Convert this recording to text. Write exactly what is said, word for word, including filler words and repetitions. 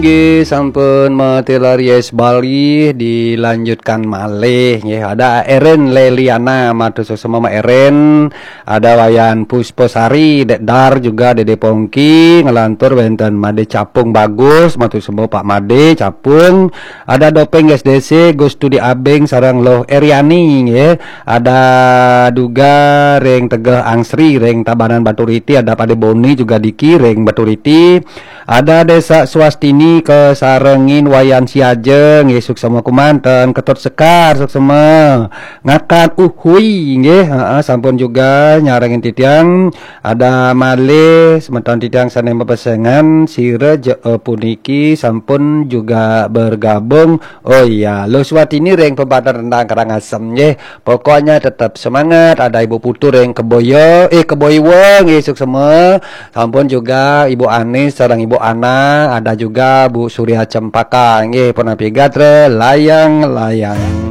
Nggih, sampun matilar Yes Bali, dilanjutkan malih nggih. Ada Eren Leliana, matur suksma Eren. Ada Wayan Pusposari, Dek Dar juga, Dede Pongki, ngelantur wenten Made Capung Bagus, matur suksma Pak Made Capung. Ada Dopeng S D C, Gus Tudi Abeng sareng Loh Eriani nggih. Ada juga ring Tegeh Angsri, ring Tabanan Baturiti, ada Pade Boni juga Diki ring Baturiti. Ada Desa Swastini kasarengin Wayan Siaja nggih, suksma kumanten, Ketut Sekar suksma. Ngakan Uhui nggih, heeh, sampun juga nyarengin titiang. Ada malih semeton titiang sane mapesengan sira je, eh, puniki sampun juga bergabung. Oh iya, Luh Swatini ring Pembadan Rendang Karangasem nggih. Pokoknya tetap semangat. Ada Ibu Putu ring Keboyo, eh, Keboiwa nggih, suksma. Sampun juga Ibu Anis sareng Ibu Ana, ada juga Bu Surya Cempaka nggih, punapi gatra layang-layang.